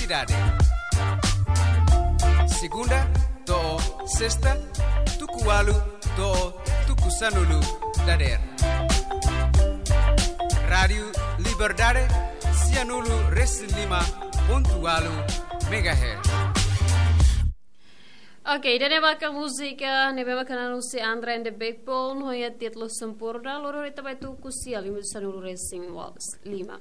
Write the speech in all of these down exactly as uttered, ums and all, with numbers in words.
Dade. Segunda to'o sesta, tuku ualu to'o tuku sanulu dadeer. Rádiu Liberdade, sianulu resin lima pontu ualu megahertz. Ok, ida-ne'e maka múzika ne'ebé maka naran husi Andra and the Backbone, ho nia títulu Sempurna, loron ita bai tuku sia lima sanulu resin lima.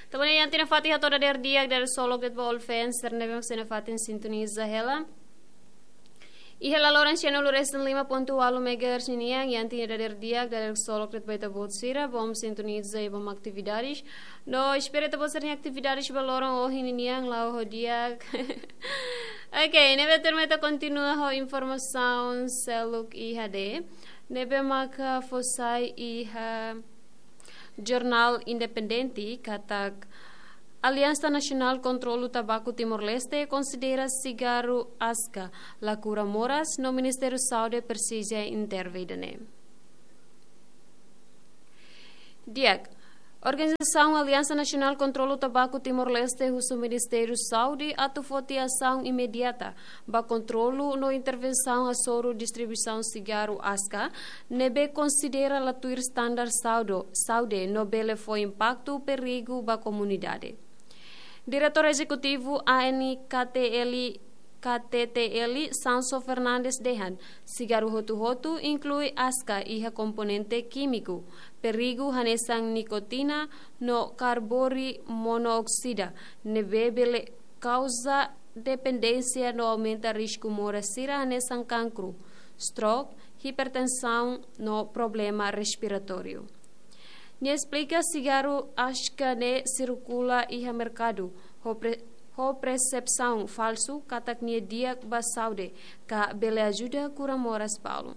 Tanba ne'e iha tiha ona fatin hato'o dadeer di'ak, dadeer solok de'it ba all fans sira ne'ebé mak sei nafatin sintoniza hela. Iha laloran sianulu resin lima pontu ualu megahertz ninian, iha tiha ona dadeer di'ak, dadeer solok de'it ba ita-boot sira, bom sintoniza i bom atividades. No espera ita-boot sira-nia atividades ba loron ohin ninian, la'o ho di'ak. Ok, ne'ebé tuirmai ita kontinua ho informasaun seluk iha de'it. Ne'ebé maka fó sai iha Jornál Independente katak Aliansa Nasionál Kontrolu Tabaku Timor-Leste konsidera sigarru aska la kura moras no Ministériu Saúde presiza intervene. Di'ak, organizasaun Aliansa Nasionál Kontrolu Tabaku Timor-Leste husu Ministériu Saúde atu foti asaun imediata ba kontrolu no intervensaun hasoru distribuisaun sigarru aska ne'ebé konsidera la tuir standar saúde, saúde no bele fó impaktu perigu ba komunidade. Diretór Ezekutivu A N K T L, K T T L, Sanso Fernandes dehan, sigarru hotu-hotu inklui aska iha komponente kímiku perigu hanesan nikotina no karbori monooksida, ne'ebé bele kauza dependénsia no aumenta risku moras sira hanesan kankru, stroke, hipertensaun no problema respiratóriu. Nia esplika sigarru aska ne'e sirkula iha merkadu ho pre-, ho persepsaun falsu katak nia di'ak ba saúde, ka bele ajuda kura moras balu.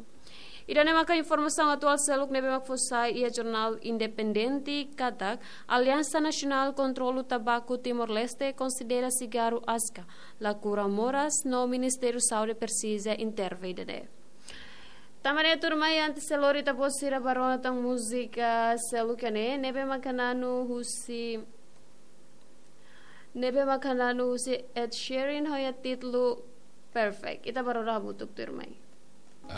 Ida-ne'e maka informasaun atuál seluk ne'ebé mak fó sai iha Jornál Independente katak Aliansa Nasionál Kontrolu Tabaku Timor-Leste konsidera sigarru aska la kura moras no Ministériu Saúde presiza intervene. Tanba ne'e tuirmai, antes selori ita-boot sira ba rona tan múzika seluk ne'e, ne'ebé maka naran husi, ne'ebé maka naran husi Ed Sheeran ho nia títulu Perfect. Ita ba rona hamutuk tuirmai.